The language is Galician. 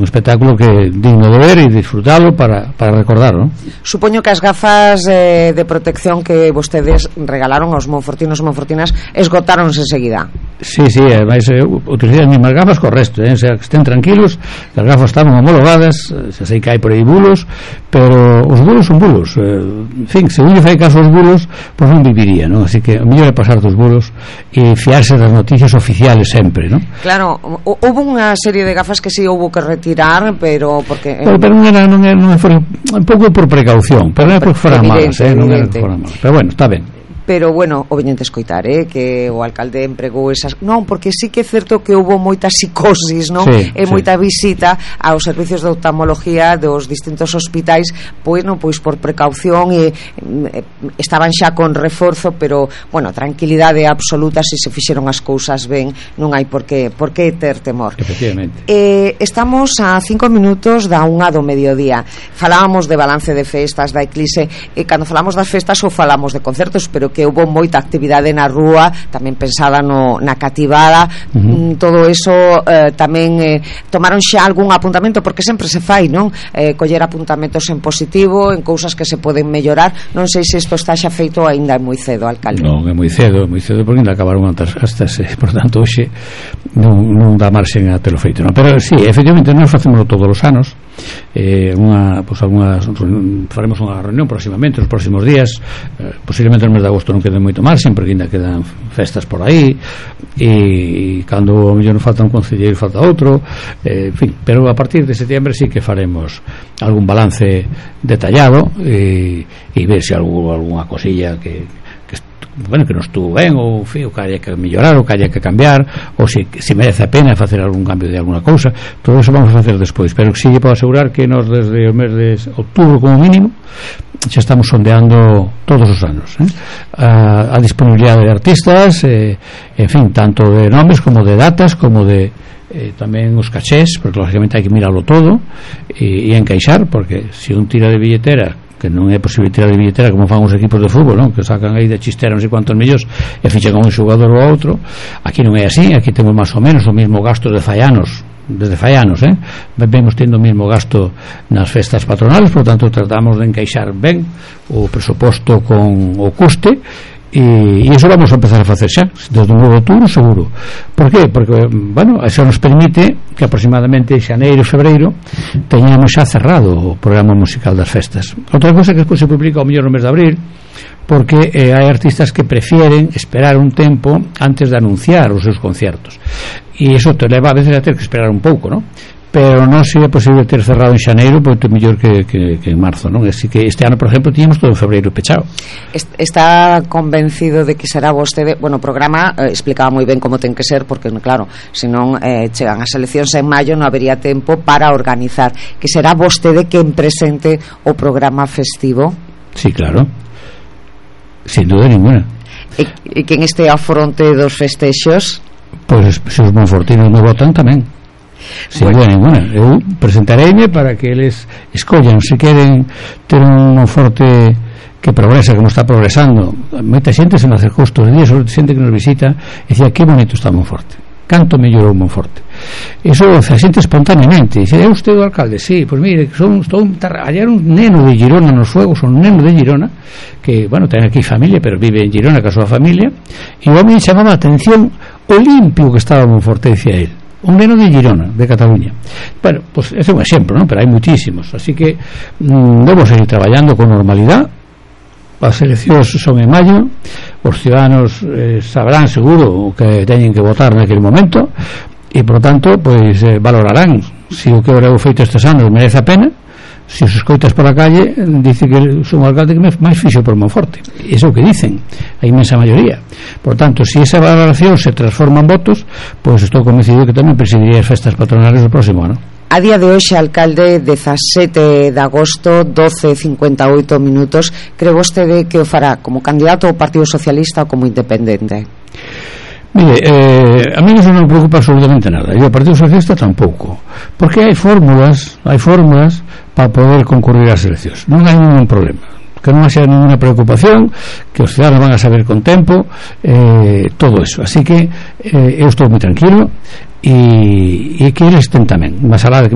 espectáculo que digno de ver e disfrutalo para recordarlo. Supoño que as gafas de protección que vostedes regalaron aos monfortinos e monfortinas esgotáronse enseguida. Sí, ademais utilizei as mesmas gafas co resto, o sea, que estén tranquilos, que as gafas estaban homologadas, se sei que hai por aí bulos, pero os bulos son bulos, en fin, se uno fai caso aos bulos, pois non viviría, non? Así que o mellor é pasar dos bulos e fiarse das noticias oficiales sempre, non? Claro, houve unha serie de gafas que si houve que retirar, pero porque non foi un pouco por precaución, pero non é porque foran malas, non é porque foran malas, pero bueno, está ben. Pero bueno, o veñente escoitar, que o alcalde empregou esas, non, porque sí que é certo que houve moita psicosis, non? E moita visita aos servicios de oftalmología dos distintos hospitais, pois por precaución, e estaban xa con reforzo, pero bueno, tranquilidade absoluta, se fixeron as cousas ben, non hai por que ter temor. Efectivamente. Estamos a 5 minutos da 1 do mediodía. Falábamos de balance de festas da Eclise, e cando falamos das festas ou falamos de concertos, pero que houve moita actividade na rúa, tamén pensada na cativada, todo eso tamén tomaron xa algún apuntamento, porque sempre se fai, non? Coller apuntamentos en positivo, en cousas que se poden mellorar. Non sei se isto está xa feito, aínda é moi cedo, alcalde. Non, é moi cedo, porque ainda acabaron antes festas, por tanto hoxe non dá marxen a telo feito, non? Pero sí, efectivamente nós facemos todos os anos, faremos unha reunión próximamente, nos próximos días, posiblemente no mes de agosto non quede moito marxen, porque ainda quedan festas por aí, e cando mellor non falta un concelleiro falta outro, en fin, pero a partir de setembro sí que faremos algún balance detallado e ver se alguna cosilla que non estuvo ben, ou que haya que mellorar, ou que haya que cambiar, ou se merece a pena facer algún cambio de alguna cousa. Todo eso vamos a facer despois, pero sí lle podo asegurar que nos desde o mes de outubro como mínimo xa estamos sondeando todos os anos a disponibilidade de artistas, en fin, tanto de nomes como de datas, como de tamén os cachés, porque lógicamente hai que mirarlo todo e encaixar, porque se un tira de billetera, que non é posible tirar de billetera como fan os equipos de fútbol, non? Que sacan aí de chistera non sei cuántos millóns e fichan con un xogador ou outro. Aquí non é así, aquí temos máis ou menos o mesmo gasto de faianos, desde faianos, vemos tendo o mesmo gasto nas festas patronales, por tanto tratamos de encaixar ben o presuposto con o custe, e iso vamos a empezar a facer xa desde o 9 de outubro seguro. Por qué? Porque, bueno, eso nos permite que aproximadamente xaneiro, febreiro teñamos xa cerrado o programa musical das festas. Outra cosa que despois se publica ao mellor no mes de abril, porque hai artistas que prefieren esperar un tempo antes de anunciar os seus conciertos, e iso te leva a veces a ter que esperar un pouco, non? Pero non sería posible ter cerrado en xaneiro, porque é mellor que en marzo, non? Así que este ano, por exemplo, tiñamos todo en febreiro pechado. Está convencido de que será vostede, bueno, o programa explicaba moi ben como ten que ser, porque claro, senón chegan as eleccións en maio, non habería tempo para organizar, que será vostede quen presente o programa festivo? Sí, claro, sin duda ninguna. E quen este ao fronte dos festexos? Pois se os monfortinos me votan tamén. Sin duda ninguna. Eu presentareime para que eles escollan se queren ter un Monforte que progresa como está progresando. Moita xente se me acercou estes días, sobre xente que nos visita, e dicía que bonito está Monforte, canto mellorou Monforte. Iso a xente espontaneamente. Dice, é usted o alcalde? Sí, pois mire, hallar un neno de Girona nos fuegos, un neno de Girona que, bueno, ten aquí familia, pero vive en Girona ca súa familia, e o home chamaba a atención o limpio que estaba Monforte, dicía él. Un neno de Girona, de Cataluña. Bueno, pues ese é un exemplo, ¿no? Pero hai muchísimos, así que debo seguir traballando con normalidad. As eleccións son en maio, os ciudadanos sabrán seguro o que teñen que votar naquele momento, e por tanto, pois valorarán se o que eu feito estes anos merece a pena. Se os escoitas por a calle, dice que son o alcalde que máis fixo por Monforte. Iso é o que dicen a inmensa maioría. Por tanto, se esa valoración se transforma en votos, pois estou convencido que tamén presidiría as festas patronales do próximo ano. A día de hoxe, alcalde, 17 de agosto, 12:58 minutos, cree vostede que o fará como candidato ao Partido Socialista ou como independente? Mire, a mí non me preocupa absolutamente nada, e o Partido Socialista tampouco, porque hai fórmulas para poder concurrir ás eleccións, non hai ningún problema, que non haxa ninguna preocupación, que os ciudadanos van a saber con tempo todo eso, así que eu estou moi tranquilo, e que eles estén tamén, máis alá de que